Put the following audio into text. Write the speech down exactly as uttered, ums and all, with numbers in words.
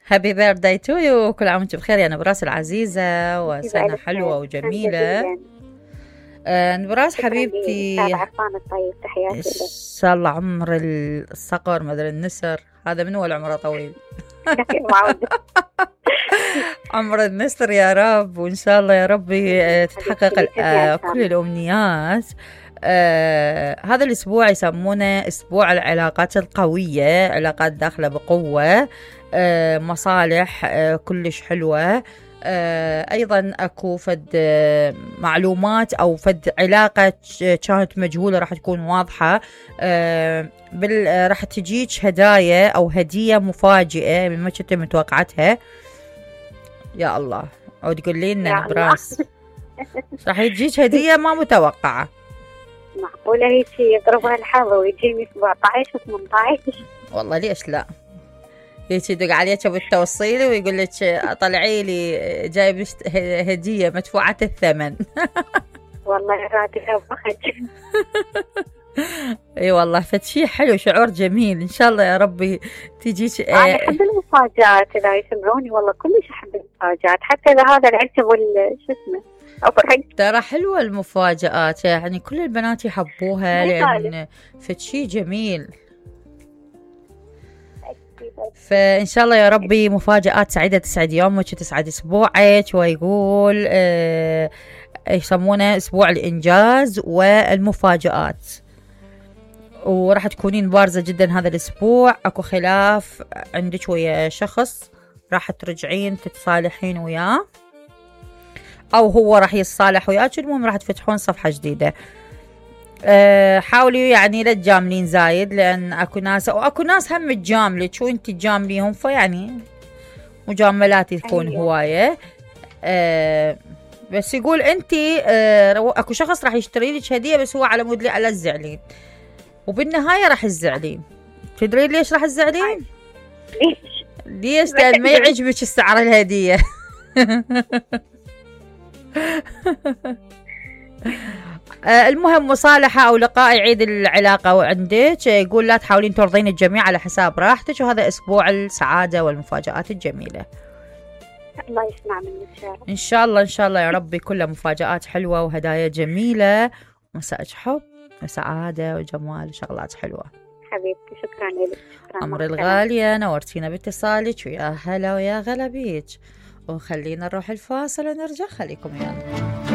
هابي بيرثداي تو يو، كل عام وانت بخير يا نبراس العزيزة، وسنة حلوة وجميلة. آه نبراس حبيبتي، عرفان الطيب، تحياتي لك. ان شاء الله عمر الصقر مدري النسر، هذا من هو العمر طويل. عمر النسر يا رب، وان شاء الله يا ربي تتحقق آه كل الامنيات. آه هذا الاسبوع يسمونه اسبوع العلاقات القوية، علاقات داخلة بقوة، آه مصالح آه كلش حلوة. آه أيضا أكو فد آه معلومات أو فد علاقة كانت مجهولة راح تكون واضحة. آه بال آه راح تجيك هدايا أو هدية مفاجئة من ما كنت متوقعتها. يا الله، أو تقول لي لنا نبراس راح تجيك هدية ما متوقعة. معقولة هيك يقربها الحظ ويجيني سبعة عشر و ثمانية عشر؟ والله ليش لا، هيك يدق عليك بالتوصيل ويقول لك طلعي لي جايب هدية مدفوعة الثمن. والله راتبها بخج. اي والله فشي حلو، شعور جميل. ان شاء الله يا ربي تجيك. انا احب المفاجآت، لا يسمعوني والله كلش احب المفاجآت، حتى اذا هذا العشب وال شو اسمه افرح. ترى حلوة المفاجآت، يعني كل البنات يحبوها لان فشي جميل. فإن شاء الله يا ربي مفاجآت سعيدة تسعد يومك وتسعد أسبوعك. ويقول آه يسمونه أسبوع الإنجاز والمفاجآت، وراح تكونين بارزة جدا هذا الأسبوع. أكو خلاف عندك ويا شخص راح ترجعين تتصالحين وياه، أو هو راح يتصالح وياك، المهم راح تفتحون صفحة جديدة. أه حاولي يعني لا تجاملين زايد، لان اكو ناس او اكو ناس هم تجاملك وانت تجامليهم، فيعني مجاملات تكون أيوة. هوايه. أه بس يقول انت أه اكو شخص راح يشتري لك هديه، بس هو على مود لي على الزعلين، وبالنهايه راح تزعلين. تدرين ليش راح تزعلين؟ ليش؟ ليش؟ لان ما يعجبك السعر الهديه. آه المهم مصالحة أو لقاء يعيد العلاقة عندك. يقول لا تحاولين ترضين الجميع على حساب راحتك، وهذا أسبوع السعادة والمفاجآت الجميلة. الله يسمع منك إن شاء الله. إن شاء الله إن شاء الله يا ربي كلها مفاجآت حلوة وهدايا جميلة، مساء حب وسعادة وجمال وشغلات حلوة. حبيبتي شكرا لك. عمر الغالية، نورتينا باتصالك، ويا هلا ويا غلا بيك. وخلينا نروح الفاصل ونرجع، خليكم ويانا.